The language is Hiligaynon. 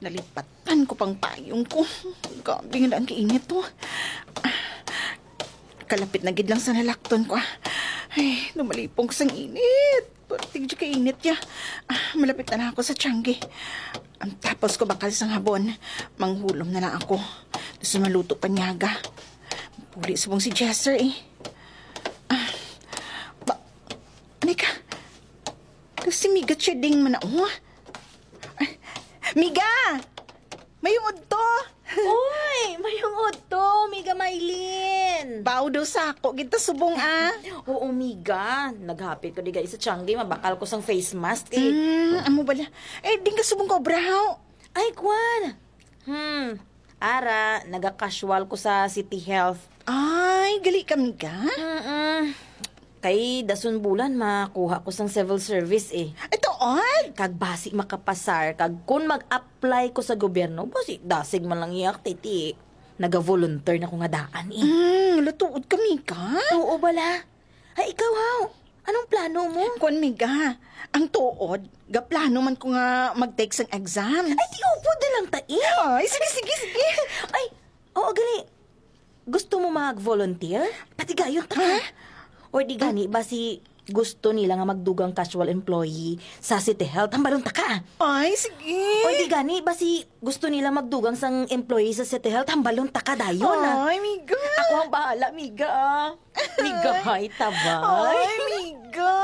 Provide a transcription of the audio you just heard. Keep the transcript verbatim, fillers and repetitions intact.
Nalipatan ko pang payong ko. Grabe nga lang kainit to. Kalapit na gid lang sa nalakton ko, ah. Ay, numalipong sang init. Perti gid kainit ya. Ah, malapit na lang ako sa tiyanggi. Ang tapos ko bakal sang habon, manghulom na lang ako. Gusto maluto pa niyaga. Puli subong si Jester, eh. Ah, ba, Nika, si Miga Cheding man na, oh. Miga! Mayong udto! Uy! Mayong udto, Miga Maylin! Bao daw sa ako, gid ta subong, ah. Oo, Miga. Naghapit ko di sa tiyanggi, mabakal ko sang face mask, eh. Hmm, amo bala. Eh, di ka subong ka obrahaw. Ay, kwan! Hmm, ara, naga-casual ko sa City Health. Ay, gali ka, Miga? Mm-mm. Kay dason bulan makuha ko sang civil service, eh. Ito, oy! Kag basi makapasar, kag kun mag-apply ko sa gobyerno, basi dasig man lang iya, titi. Naga-volunteer na ko nga daan, eh. Mm, latuod ka, Miga? Oo, bala. Ay, ikaw, haw? Anong plano mo? Kwan, Miga, ang tuod, gaplano man ko nga mag-take sang exam. Ay, di upod na lang ta, eh. Ay, sige, sige, sige. Ay, oo, gali. Gusto mo mag-volunteer? Patigayon ta ka. Ha? Or di gani ba si gusto nila nga magdugang casual employee sa City Health? Hambalon ta ka. Ay, sige. Or di gani ba si gusto nila magdugang sang employee sa City Health? Hambalon ta ka dayon, ah. Ay, Miga. Ako ang bahala, Miga, ah. Miga, hay, taba. Ay, Miga.